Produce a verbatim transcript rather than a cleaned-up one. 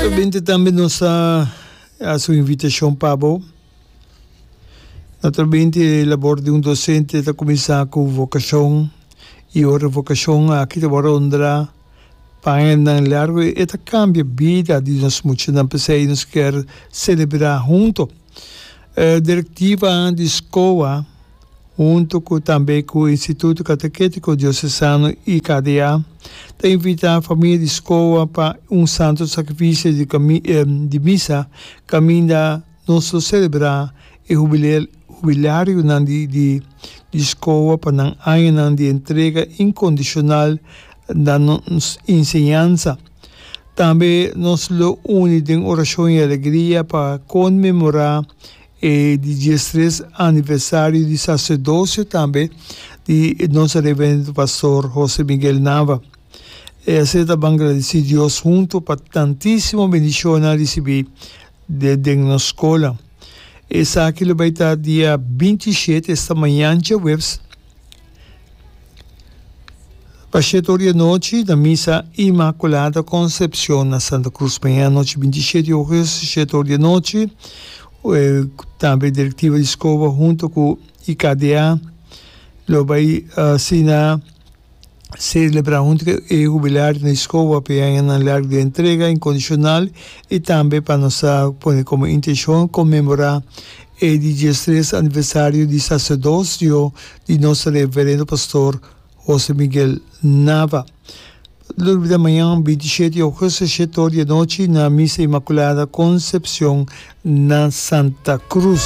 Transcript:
Naturalmente tambe nos ta hasi un invitashon pa bo. Naturalmente e labor di un dosente ta kuminsá ku vokashon i ora vokashon aki ta wòrdu honrá pa añanan largu e ta kambia bida di nos muchanan. P'esei nos kier selebrá hunto. Direktiva di SCOA hunto ku tambe ku Instituto Kateketiko Diosesano, I K D A, ta invitá famia di SCOA pa un santo sakrifisio di, di misa kaminda nos ta selebrá e hubilarionan di, di, di SCOA pa nan añanan di entrega inkondishonal na nos enseñansa. Tambe nos lo uni den orashon i alegria pa konmemorá e di diestres aniversario di saserdosio tambe di nos reverendo pastor José Miguel Nava. I asina ta ban gradisí Dios huntu pa tantísimo bendishon risibí den, den nos skol. Esaki lo bai ta dia binti i shete, esta mañan djaweps, pa shete or di anochi, na misa Inmaculada Concepción na Santa Cruz. Mañan anochi, binti i shete di ougùstùs, shete or di anochi, eh, tambe direktiva di SCOA huntu ku I K D A lo bai asina selebrá huntu ku e hubilario na SCOA pa añanan largu di entrega inkondishonal i tambe pa nos pone komo intenshon konmemorá e di diestres aniversario di saserdosio di nos reverendo pastor José Miguel Nava. No lubidá, mañan binti i shete di ougùstùs, shete or di anochi, na misa Inmaculada Concepción na Santa Cruz.